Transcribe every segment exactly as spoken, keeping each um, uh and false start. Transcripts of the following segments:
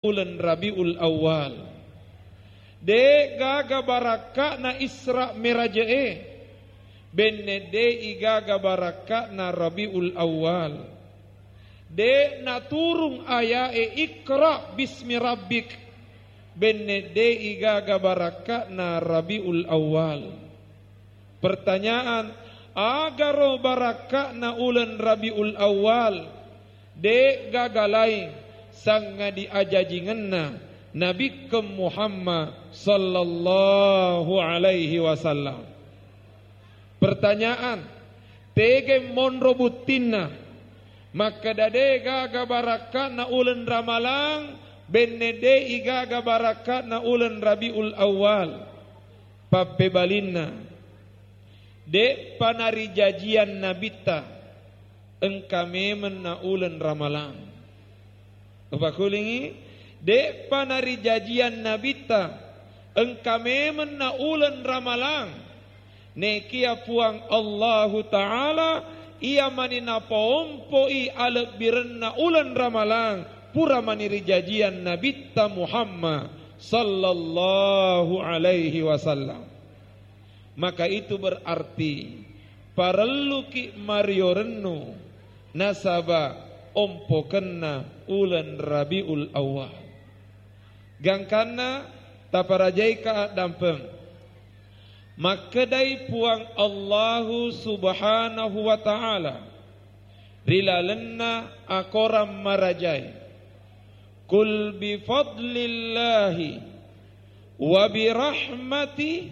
uleng Rabiul Awal. De' gaga barakka'na Isra Miraje'e, benne de' igaga barakka'na Rabiul Awal. De' naturung aya'e Iqra bismi rabbik, benne de' igaga barakka'na Rabiul Awal. Pertanyaan, agaro barakka'na uleng Rabiul Awal, de' gaga laing sangadi ajajingenna Nabikkeng Muhammad sallallahu alaihi wasallam. Pertanyaan, tege monro buttinna makkeda de' gaga barakka'na uleng Ramalang, benne de' igaga barakka'na uleng Rabiul Awal. Pappebalinna, de'pa narijajiang Nabitta engka memenna uleng Ramalang. Upakulingi, de'pa narijajiang Nabitta engka memenna uleng Ramalang. Nekia Puang Allahu Ta'ala iya mani napaompoi alebbirenna uleng Ramalang, pura mani rijajiang Nabitta Muhammad sallallahu alaihi wasallam. Maka itu berarti parelluki mario rennu nasaba ompokenna uleng Rabiul Awal. Gangkanna taparajaika addampeng. Makkedai Puang Allahu Subhanahu wa Ta'ala ri lalenna akorang marajae, "Qul bi fadlillahi wa bi rahmati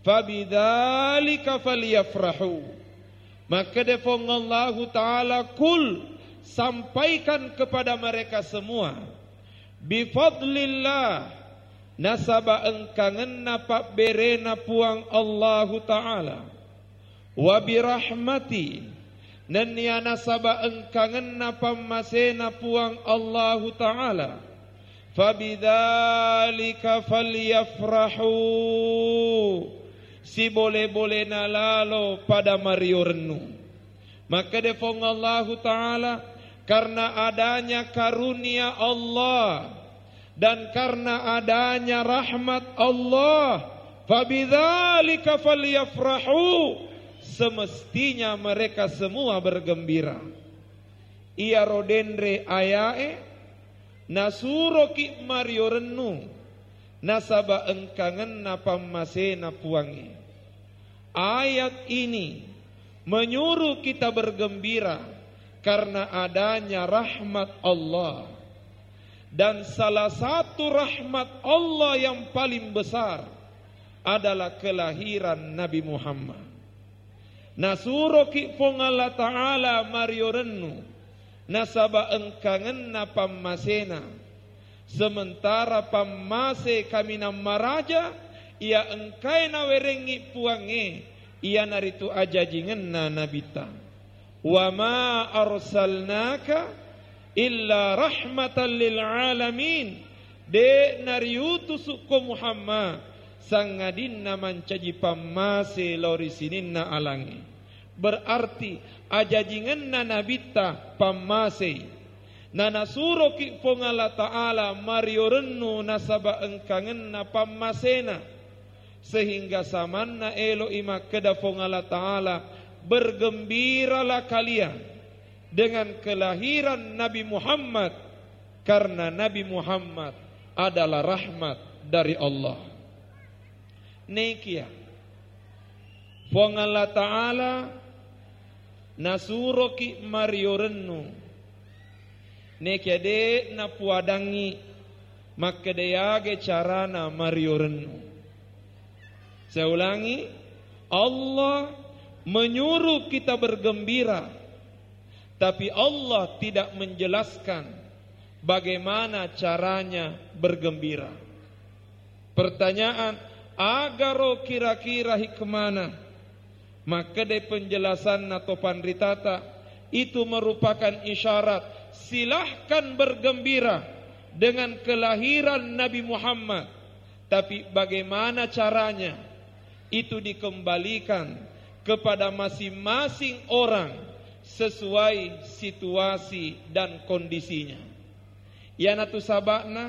fabidzalika falyafrahu." Makkeda Puang Allahu Ta'ala, "Qul," sampaikan kepada mereka semua, "bi fadlillah," nasaba engkangenna pabberena Puang Allahu Ta'ala, "wa bi rahmati," nennia nasaba engkangenna pammasena Puang Allahu Ta'ala, "fabidzalika falyafrahu," sibole-bolena lalo pada mario rennu. Makkeda Puang Allahu Ta'ala, karena adanya karunia Allah dan karena adanya rahmat Allah, "fabidzalika falyafrahu," semestinya mereka semua bergembira. Iyaro denre ayae nasuroki mario rennu nasaba engkangenna pammasena Puangnge. Ayat ini menyuruh kita bergembira karena adanya rahmat Allah. Dan salah satu rahmat Allah yang paling besar adalah kelahiran Nabi Muhammad. Nasuroki Puang Allah Ta'ala mario rennu nasaba engkangenna pammasena. Sementara pammase kaminang maraja iya engkae nawerengngi Puangnge, iyanaritu ajajingenna Nabitta. "Wa ma arsalnaka illa rahmatan lil alamin." De' nariutusukko Muhammad sangadinna mancaji pammase lao ri sininna alangnge. Berarti ajajingenna Nabitta pammasei. Nanasuroki Puang Allah Ta'ala mario rennu nasaba engkangenna pammasena. Sehingga samanna elo'i makkeda Puang Allah Ta'ala, "Bergembiralah kalian dengan kelahiran Nabi Muhammad, karena Nabi Muhammad adalah rahmat dari Allah." Nekia Puang Allah Ta'ala nasuroki mario rennu, nekia de' napuadangngi makkeda yaga carana mario rennu. Saya ulangi, Allah menyuruh kita bergembira, tapi Allah tidak menjelaskan bagaimana caranya bergembira. Pertanyaan, agaro kira-kira hikmana? Makkedai penjelasanna to panritata, itu merupakan isyarat, silahkan bergembira dengan kelahiran Nabi Muhammad. Tapi bagaimana caranya? Itu dikembalikan kepada masing-masing orang sesuai situasi dan kondisinya. Iyanatu saba'na